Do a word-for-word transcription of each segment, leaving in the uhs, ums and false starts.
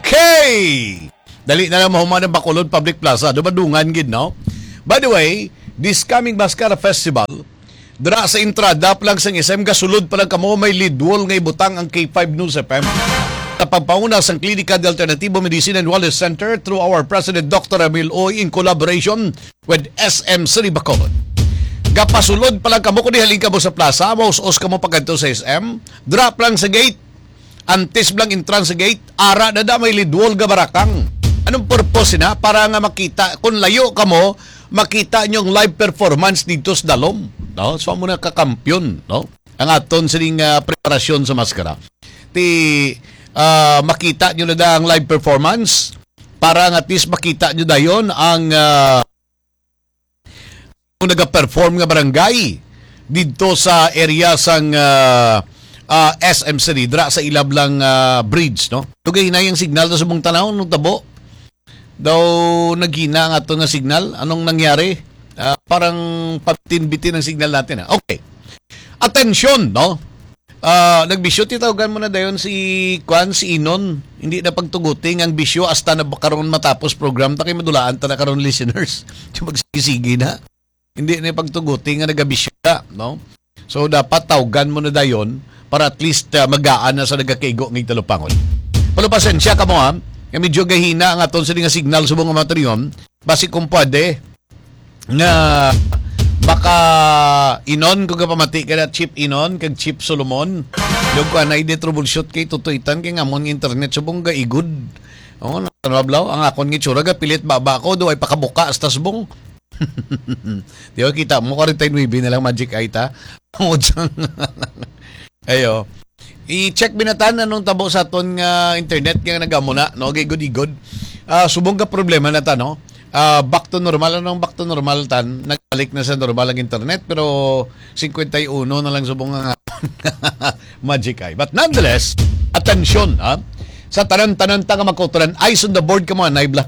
Okay! Dali na lang mahuman ang Bacolod Public Plaza. Dumadungan gid, no? By the way, this coming Mascara Festival, dira sa entrada pa lang sang S M, gasulod pa lang kamo, may lead wall nga ibutang ang K five News F M. Sa pagpauna sang Klinika de Alternativo Medicine and Wellness Center through our President, Doctor Emil Uy, in collaboration with S M City Bacolod. Gapasulod pa lang kamo, kung halin kamo sa plaza, maus-os kamo pagkadto sa S M, drop lang sa gate, antes lang entrance sa gate, ara na da may lead wall nga barakang. Anong purpose na? Para nga makita, kung layo kamo, makita nyo ang live performance dito sa dalom. No? So, amo na kakampiyon, no? Ang aton sining ah, preparasyon sa maskara. Ti, ah, makita nyo na da ang live performance para nga at least makita nyo dayon ang ah, kung naga-perform nga barangay dito sa area sang ah, ah, S M City, dra sa Ilablang ah, Bridge, no? Tugay hinay ang signal sa subong tanaw, anong tabo? Daw naghina ang ato nga signal. Anong nangyari? Ah, parang pabitin-bitin ang signal natin, ah. Okay. Atensyon, no? Ah, nagbisyo, titawagan mo na dayon si, kwan, si Inon. Hindi na pagtuguti nga ang bisyo hasta na ba karon matapos program ta kay madulaan ta na karon, listeners. Yung magsigi-sigi na. Hindi na pagtuguti nga nagabisyo na, no? So, dapat tawgan mo na dayon para at least ah, magaan na sa nagakaigo nga igtalupangon. Pero pasensya ka mo, ha? Nga medyo gahina ang aton sini nga signal subong nga materiyon. Basi kung pwede, nga baka Inon, kung kapamati ka na, Chief Inon, kag Chief Solomon, yung ko anay di troubleshoot kay tutuitan kay ngamon nga internet subong gaigod. Oh, nablaw ang akon nga itsura, gapilit baba ko, do ay pakabuka hasta subong. Di ba, kita mo, forty-nine na lang Magic Eye ta. Ang udyang. Ayo. I-check binatan anong tabo sa aton nga internet nga nagamuna, no? Gigod-igod. Ah, subong ka problema na ta, no? Ah, back to normal. Anong back to normal, tan? Nagbalik na sa normal ang internet, pero fifty-one na lang subong nga Magic Eye. But nonetheless, atensyon, ha? Sa tanan-tanan ta nga magkauturan, eyes on the board ka mga naibla.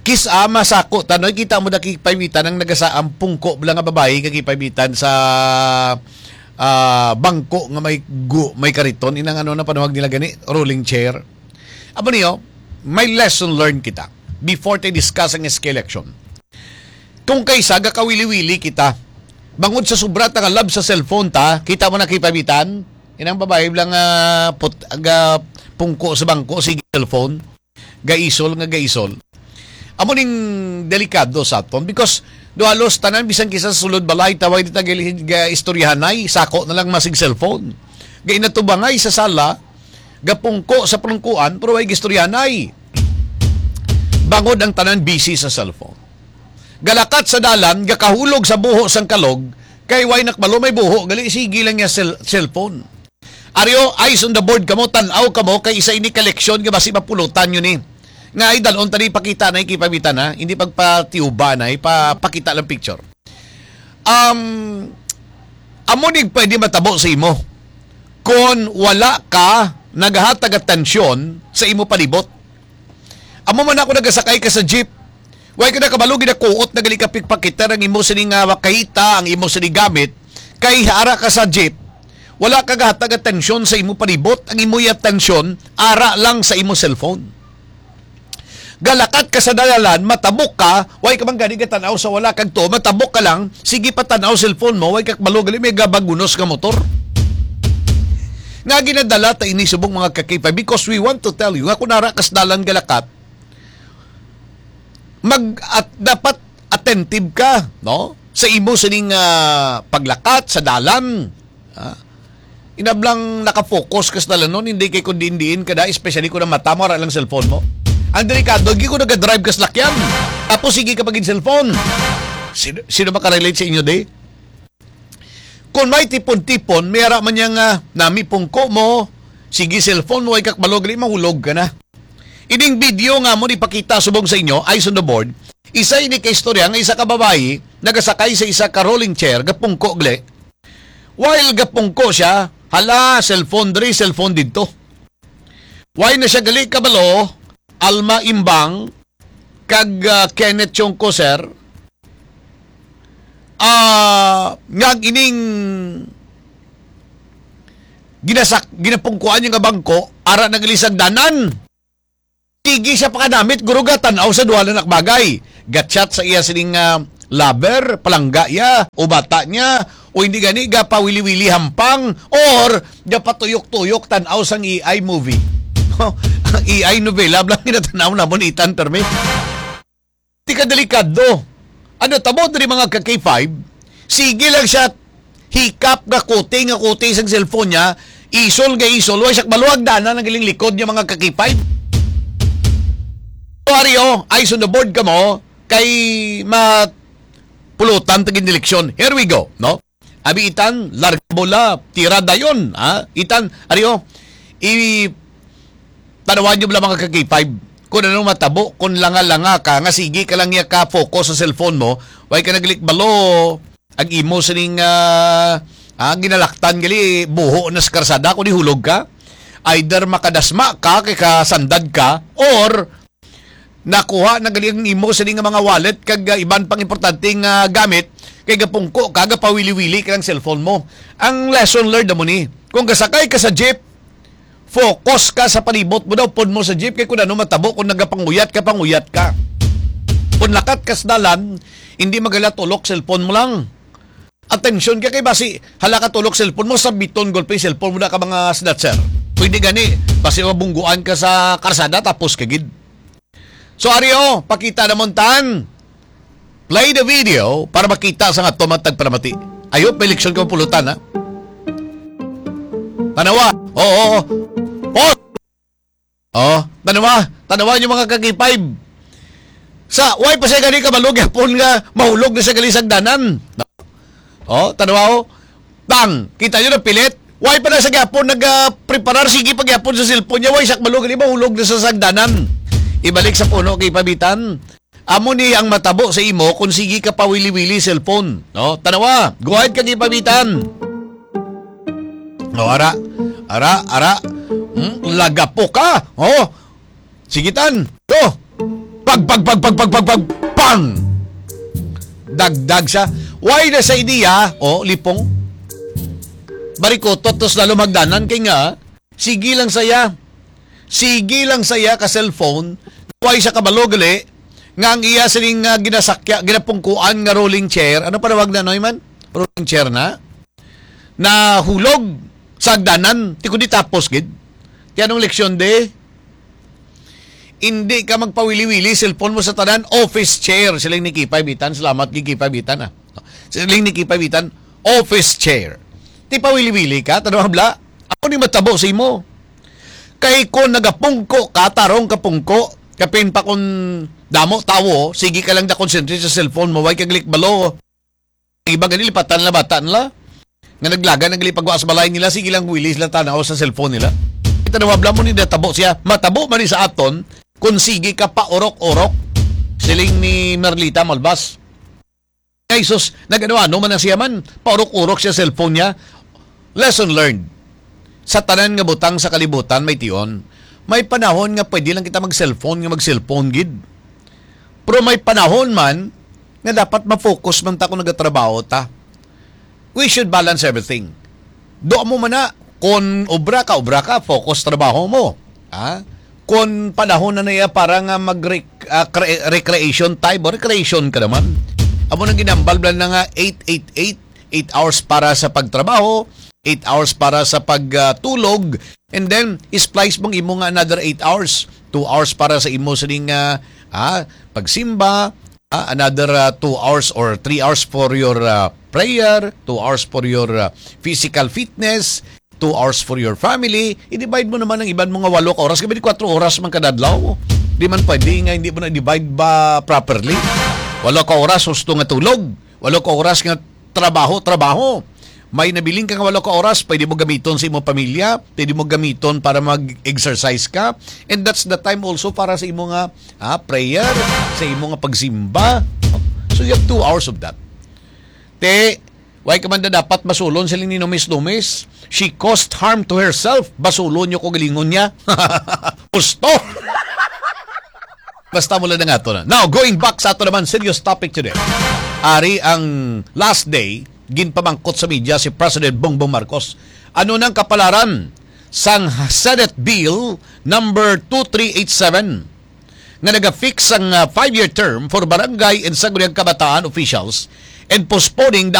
Kis-a masako ta, no? Kita mo na kipaybitan ang nagasa-, ang pungko lang nga babayi nga kipaybitan sa ah, bangko nga may gu-, may kariton, inang ano na panuhag nila gani, rolling chair. Amo niyo, may lesson learned kita before tayo discuss ang S K election. Kung kaysa gakawili-wili kita, bangod sa sobra ta nga love sa cellphone ta, kita mo na kipaybitan, inang babayi lang nga put-, ga pungko sa bangko, sige cellphone. Gaisol nga gaisol. Amo ning delikado sa aton because do halos tanan, bisan kisa sa sulod balay, tawag dita gali-, ga istoryahanay, sako na lang masig cellphone. Gainatubangay sa sala, gapungko sa pulungkuan, pero way gistoryahanay. Bangod ang tanan busy sa cellphone. Galakat sa dalan, gakahulog sa buho sang kalog, kay way nakbalo may buho, gali sige lang niya cell-, cellphone. Aryo, eyes on the board kamo, tan-aw kamo, kay isa ini ka leksyon nga basi mapulutan nyo ni. Nga ay dalon tani pakita na ikipamitan, ha? Hindi pagpatiuba na, ipapakita lang picture. Um, amo ni pwede matabo sa imo kon wala ka naghatag atensyon sa imo palibot. Amo man ako nagasakay ka sa jeep. Way ka nakabalo, ginakuot na gali ka pikpakita ang imo sini nga makahita, ang imo sini gamit. Kay ara ka sa jeep, wala ka gahatag atensyon sa imo palibot. Ang imo atensyon, ara lang sa imo cellphone. Galakat ka sa dalan, matabok ka, way ka man gani gatan-aw sa wala kag to, matabok ka lang, sige pa tan-aw cellphone mo, way ka kabalo gali may gabagunos nga motor. Nga ginadala ta ini subong mga kakipay, because we want to tell you nga kung ara ka sa dalan galakat, mag-, at dapat attentive ka, no? Sa imo sining ah, paglakat sa dalan. Ah, inablang nakafocus ka sa dalanon, hindi kay kung diin-diin ka da, especially kung ang mata mo, ara lang cellphone mo. Ang delikado, di ko nagadrive ka sa lakyan. Tapos sige ka pagin cellphone. Sino, sino makarelate sa inyo, di? Kung may tipon-tipon, may ara man niya nga, nami pungko mo, sige cellphone mo, ay kakbalog, gali, mahulog ka na. Ining video nga mo ipakita subong sa inyo, eyes on the board, isa ini ka istorya nga isa ka babayi nagasakay sa isa ka rolling chair, gapungko gali. While gapungko siya, hala, cellphone diri, cellphone didto. Why na siya gali kabalo, Alma Imbang, kag ah, Kenneth Chongco, sir, ah, nga ang ining ginasak-, ginapungkuan niya nga bangko, ara na gali sa hagdanan. Sige siya pakanamit, guro, gatan-aw sa duha na nakbagay. Gatchat sa iya sining, ah, lover, palangga iya, o bata niya, o hindi gani, gapawili-wili hampang, or gapatuyok-tuyok tan-aw sang A I movie. Ang A I novela, blang ginatanaw namon, Itan, permi. Di ka delikado. Ano tabo diri, mga ka K five? Sige lang siya hikap nga kuti, nga kuti sang cellphone niya, isol nga isol, wa siya maluwag dana nang iling likod niya, mga ka K five. So, ari, oh, eyes on the board kamo, kay mapulutan ta gid eleksyon. Here we go, no? Abi, Itan, larga bola, tira dayon, ha? Itan, ari, oh, i-, tanawan niyo bala, mga ka K five, kung ano matabo, kung langa-langa ka, nga sige ka lang niya ka-focus sa cellphone mo, way ka naglikbalo, ang imo sining, ah, ah, ginalaktan gali, buho na sa karsada, kung hulog ka, either makadasma ka, kay kasandad ka, or nakuha na gali ang imo sini nga mga wallet kag, ah, iban pang importante nga gamit, kay gapungko ka, gapawili-wili ka ng cellphone mo. Ang lesson learned mo ni, kung gasakay ka sa jeep, focus ka sa palibot mo daw, pon mo sa jeep, kay kung ano matabo kung nagapanguyat ka, panguyat ka. Kung lakat ka sa dalan, hindi magalatulok, cellphone mo lang. Atensyon ka kay basi, hala ka tulok cellphone mo, sabiton gulpi cellphone mo na ka mga snatcher. Pwede gani, basi mabungguan ka sa karsada, tapos ka gid. So, ari, oh, pakita namon tan. Play the video para makita sa nga tumatag panamati. Ayo, may leksyon ka pulutan, ha? Tanawa. Oo, oo. Pause. Oh, tanawa, tanawa niyo, mga ka K five. Sa, way pa siya gani kabalo gyapon nga mahulog na sa gali sa hagdanan. No? Oh, tanawa, oh. Tang, kita niyo na pilit. Way pa na sa gyapon nag-, ah, preparar, sige pa gyapon sa cellphone niya, way siya kabalo gali mahulog na sa sagdanan. Ibalik sa puno kay pabitan. Amo ni ang matabo sa imo kung sige ka pawili-wili cellphone, no? Tanawa, go ahead kag ipabitan. O, ara, ara, ara. Hmm, lagapo ka. Oh. Sige, tan. Go. Pag, pag, pag, pag, pag, pag, pag, pang! Dagdag sa, way na sa idea, oh, lipong. Barikotot, tos lalo magdanan kay nga, sige lang saya. Sige lang saya ka cellphone. Way sa kabalo gali nga ang iya sining, ah, ginasakya, ginapungkuan nga rolling chair. Ano panawag na, Noy, man? Rolling chair na? Nahulog sa hagdanan. Ti kundi tapos gid. Ti anong leksyon, de? Hindi ka magpawili-wili, cellphone mo sa tanan, office chair. Siling ni Kipay Bitan, salamat kay Kipay Bitan, ah. Siling ni Kipay Bitan, office chair. Ti pawili-wili ka, tanong habla, ako ni matabo sa imo. Kay kung nagapungko ka, tarong ka pungko, kapin pa kung damo tawo, sige ka lang da concentrate sa cellphone mo, way kag likbalo. Iba gani, lipatan nila bata nila. Nga naglaga, nagli pagwa sa balay nila, sige lang wili sila tanaw sa cellphone nila. Kita na wabla mo ni natabo siya. Matabo man ni sa aton, kung sige ka paurok-urok. Siling ni Merlita Malbas. Ay, sus, nag-ano-ano man na siya man. Paurok-urok siya cellphone niya. Lesson learned. Sa tanan nga butang sa kalibutan, may tion, may panahon nga pwede lang kita mag-cellphone nga mag-cellphone gid. Pero may panahon man nga dapat ma-focus man ta kung nagatrabaho ta. We should balance everything. Do mo man na, kung obra ka, obra ka, focus trabaho mo. Ha? Kung panahon na niya para nga mag-rec-, ah, cre-, recreation time, o recreation ka naman. Amo nang ginambal blan na nga eight eight eight, eight hours para sa pagtrabaho, eight hours para sa pagtulog, and then splice mong imo nga another eight hours, two hours para sa imo sining, ah, ah, pagsimba, ah, another, ah, two hours or three hours for your, ah, prayer, two hours for your, ah, physical fitness, two hours for your family. I-divide mo naman ang iban mo nga walo ka oras, kay twenty-four oras man kada adlaw. Di man pwede nga hindi mo na divide ba properly. Walo ka oras, husto nga tulog. Walo ka oras nga trabaho, trabaho. May nabiling ka nga walo ka oras, pwede mo gamiton sa imong pamilya, pwede mo gamiton para mag-exercise ka. And that's the time also para sa imo nga, ah, prayer, sa imo nga pagsimba. So you have two hours of that. Te, way ka man na dapat basulon, siling ni Numis Numis. She caused harm to herself. Basulon niyo ko, galingon niya. Gusto. Basta mula na nga to na. Now, going back sa ato naman, serious topic today. Ari ang last day, ginpamangkot sa media si President Bongbong Marcos. Ano nang kapalaran sang Senate Bill number two three eight seven nga naga-fix sang, ah, five-year term for barangay and sangguniang kabataan officials and postponing the